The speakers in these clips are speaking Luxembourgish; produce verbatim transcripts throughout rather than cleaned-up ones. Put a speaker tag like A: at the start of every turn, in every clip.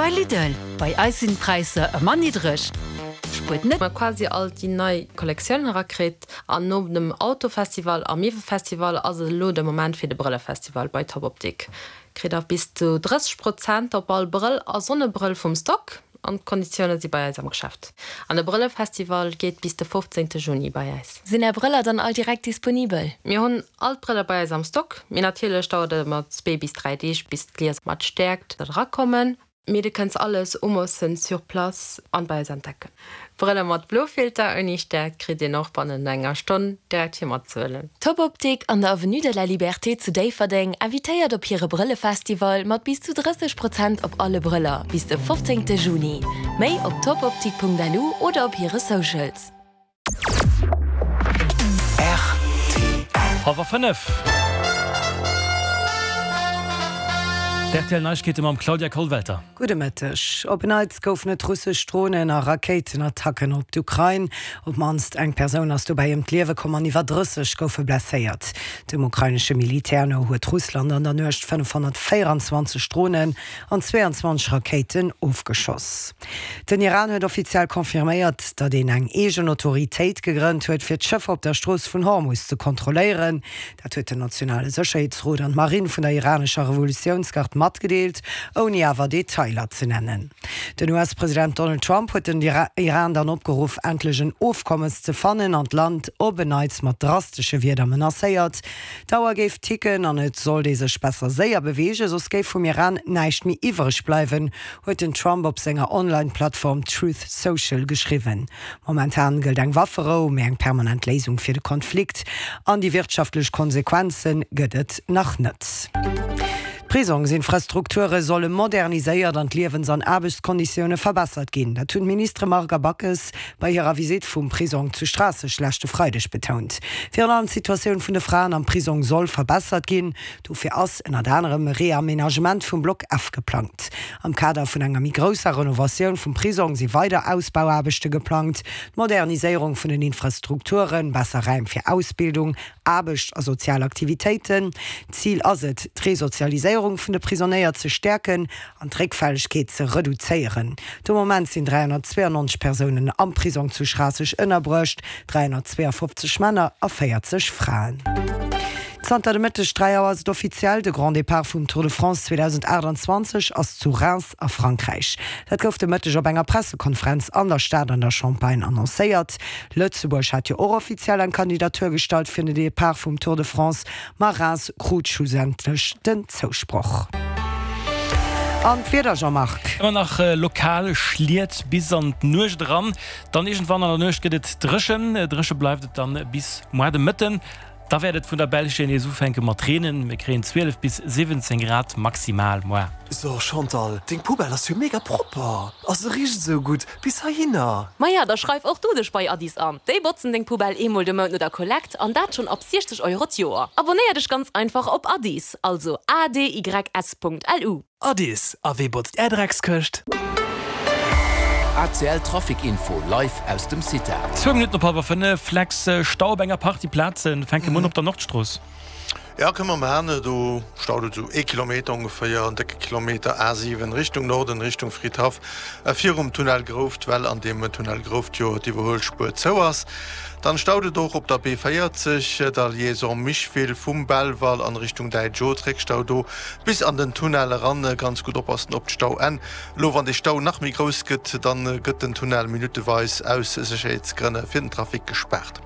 A: Bei Lidl, bei eis sinn d'Präisser ëmmer niddreg. Spuert net.
B: Mer quasi all déi nei Kollektiounen erakritt an no dem Autofestival a Miwwelfestival ass et elo de Moment fir de Brëllefestival bei Top Optik. Kritt der bis zu drësseg Prozent op all Brëll a Sonnebrëll vum Stock an d'Konditioune si bei eis am Geschäft. An de Brëllefestival geet bis de fofzéngte Juni bei eis.
C: Sinn Är Brëller dann all direkt disponibel?
B: Mir hunn all d'Brëller bei eis am Stock, mee natierlech dauert et ëmmer zwee bis dräi Deeg bis d'Glies mat Stäerkt erakommen. Mee de kënns alles umoossen sur place an bei eis entdecken. Brëller mat Blofilter ouni Stäerkt kritt een och bannent enger Stonn direkt fir matzehuelen.
C: Top Optik an der Avenue de la Liberté zu Déifferdeng invitéiert op hire Brëllefestival mat bis zu drësseg Prozent op alle Brëller bis de fofzéngte Juni. Méi op topoptik.lu oder op hire Socials.
D: Hallwer fënnef. D'R T L Neiegkeete mam Claudia Kollwelter.
E: Gudde Mëtteg. Op en Neits goufen et russesch Dronen a Rakéitenattacken op d'Ukrain. Op d'mannst eng Persoun ass dobäi ëm d'Liewe komm an iwwer drësseg goufe blesséiert. Dem ukrainesche Militär no huet Russland an der Nuecht fënnefhonnertvéierenzwanzeg Dronen an zweeanzwanzeg Rakéiten ofgeschoss. Den Iran huet offiziell confirméiert, datt een eng eegen Autoritéit gegrënnt huet, fir d'Schëffer op der Strooss vun Hormus ze kontrolléieren. Dat huet den nationale Sécherheetsrot an d'Marinn vun der iranescher Revolutiounsgard matgedeelt, ouni awer Detailer ze nennen. Den U S-President Donald Trump huet den Iran dann opgeruff, endlech en Ofkommes ze fannen an d'Land op en Neits mat drastesche Wierder menacéiert. D'Auer géif ticken an et sollt ee sech besser séier beweegen, soss géif vum Iran näischt méi iwwereg bleiwen, huet den Trump op senger Online-Plattform Truth Social geschriwwen. Momentan gëllt eng Wafferou, mee eng permanent Léisung fir de Konflikt an déi wirtschaftlech Konsequenze gëtt et nach net. D'Prisongsinfrastrukture solle moderniséiert an d'Liewens an Aarbechtskonditioune verbessert ginn. Dat hunn d'Ministere Margue a Backes bei hirer Visitt vum Prisong zu Schraasseg leschte Freideg betount. Virun allem d'Situatioun vun de Fraen am Prisong soll verbessert ginn. Dofir ass ënnert anerem e Reamenagement vum Block F geplangt. Am Kader vun enger méi grousser Renovatioun vum Prisong si weider Ausbauaarbechte geplangt, d'Moderniséierung vun den Infrastrukturen, besser Räim fir Ausbildung, Aarbecht a sozial Aktivitéiten. Zil ass et, d'Resozialiséierung vun de Prisonéier ze stäerken an d'Réckfällegkeet ze reduzéieren. De Moment sinn dräihonnertzweeannonzeg Persounen am Prisong zu Schraasseg ënnerbruecht, dräihonnertzweeafofzeg Männer a véierzeg Fraen. Zanter de Mëtteg dräi Auer ass et offiziell, De Grand Départ vum Tour de France zweedausendaachtanzwanzeg ass zu Reims a Frankräich. Dat gouf de Mëtteg op enger Pressekonferenz an der Stad an der Champagne annoncéiert. Lëtzebuerg hat jo och offiziell eng Kandidatur gestallt fir den Depart vum Tour de France, ma Reims krut schlussendlech den Zousproch. An d'Wieder, Jean-Marc?
D: Ëmmer nach lokal Schliet bis an d'Nuecht eran. Dann iergendwann an der Nuecht gëtt et dréchen. Dréche bleift et dann bis muer de Mëtten. Da wäert et vun der Belsch hier nees ufänke mat reenen. Mir kréien zwielef bis siwwenzéng Grad maximal muer.
F: So Chantal, deng Poubelle ass jo mega propper a se richt esou gutt bis heihinner.
G: Maja, da schreif och du dech bei Addis an. Déi botzen deng Poubelle eemol de Mount no der Kollekt an dat schonn ab siechzeg Euro d'Joer. Abonéier dech ganz einfach op Addis, also A D Y S Punkt L U.
F: Addis, a wee botzt är Dreckskëscht?
H: A C L Trafic Info live aus dem CITA.
D: Zwou Minutten op hallwer fënnef, Lex, Stau op enger Partie Plazen. Fänke mer un op der Nordstrooss.
I: Ja, kënne mer maachen. Do staut et esou ee Kilometer ongeféier, en décke Kilometer, A siwen Richtung Norden, Richtung Fridhaff, virum Tunnel Grouft, well an deem Tunnel Grouft jo d'Iwwerhuelspuer zou ass. Dann staut et och op der B véierzeg, der Liaison Micheville vum Belval an Richtung Däitsch Oth, Réckstau do bis an den Tunnel eran. Ganz gutt oppassen op d'Stauenn. Elo wann dee Stau nach méi grouss gëtt, dann gëtt den Tunnel minutteweis aus Sécherheetsgrënn fir den Trafic gespaart.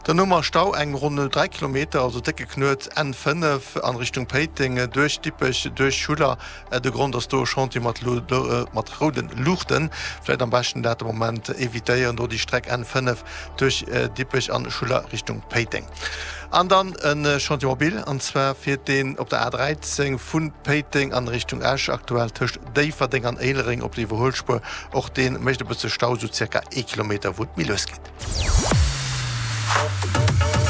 I: Dann hu mer Stau eng ronn dräi Kilometer, also décke Knuet, N fënnef an Richtung Péiteng duerch Dippech, duerch Schuller. De Grond ass do e Chantier mat mat rouden Luuchten. Vläit am beschten dat de Moment evitéieren, do déi Streck N fënnef duerch Dippech an Schuller Richtung Péiteng. An dann e Chantier mobile, an zwar fiert deen op der A dräizéng vu Péiteng an Richtung Esch, aktuell tëscht Déifferdeng an Éilereng op der Iwwerhuelspuer. Och dee mécht e bësse Stau, sou zirka ee Kilometer, wou et méi lues geet.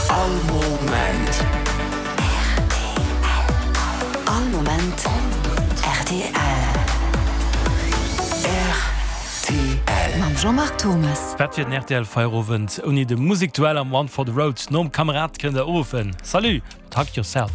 H: All Moment.
A: All Moment R T L.
H: R T L.
A: Mam Jean-Marc Thomas.
D: Wat wier den R T L Feierowend ouni de Musekduell am One for the Road? Nom Kamerad kënnt der uruffen. Salut mat Hug Yourself.